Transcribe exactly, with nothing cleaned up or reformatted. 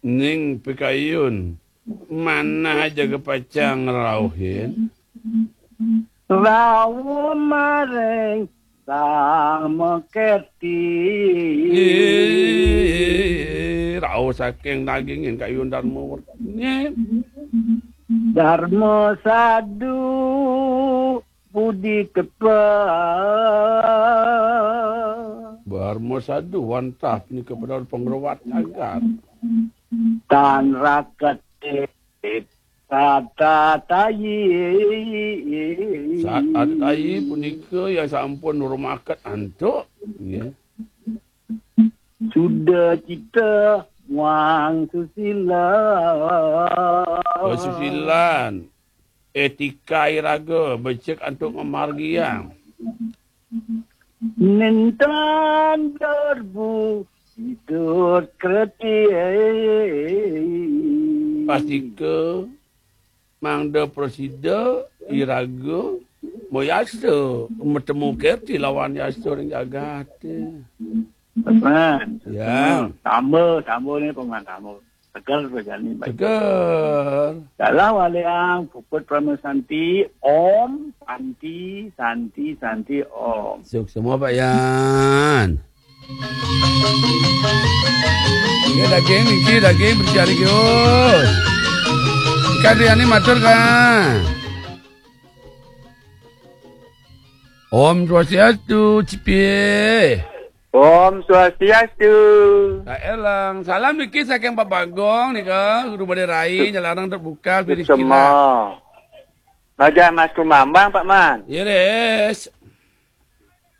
Ning pikayun, manah jaga pacang ngrauhin. Rauh maring Dharma Kerti. Ih, rauh saking dagingin kayun Dharma Wertine. Dharma Sadu budi kepa. Dharma Sadu wantah punika pada pangrewat jagat. Tan raket tata tayi. Saat ada tayi punika yang sampun nurmaket antuk, nggih. Suda cita muang susila. Pasusilan, etika iraga, becik antuk ngamargiang. Nintan derbu hidup kerti. Pastika mangda prasida iraga mayasta matemu kerti lawan yasta ring jagate. Paman. Ya. Tamba, tamba ni, Paman, tamba. Tegar bejani baik. Tegar. Dalah waliang puput Parama Santi, Om, Santi, Santi, Santi, Om. Suksma, Pak Yan. Nggih, daging niki, daging berjari, Gus. Ikan Riani matur, Kang. Om Swastiastu, Cipie. Om Swastiastu. Kak Elang, salam niki saking Pak Bagong nika, Guru Badai Rai, Nyalarang terbuka, Suksma. Raja Mas Kumambang, Pak Man. Iris.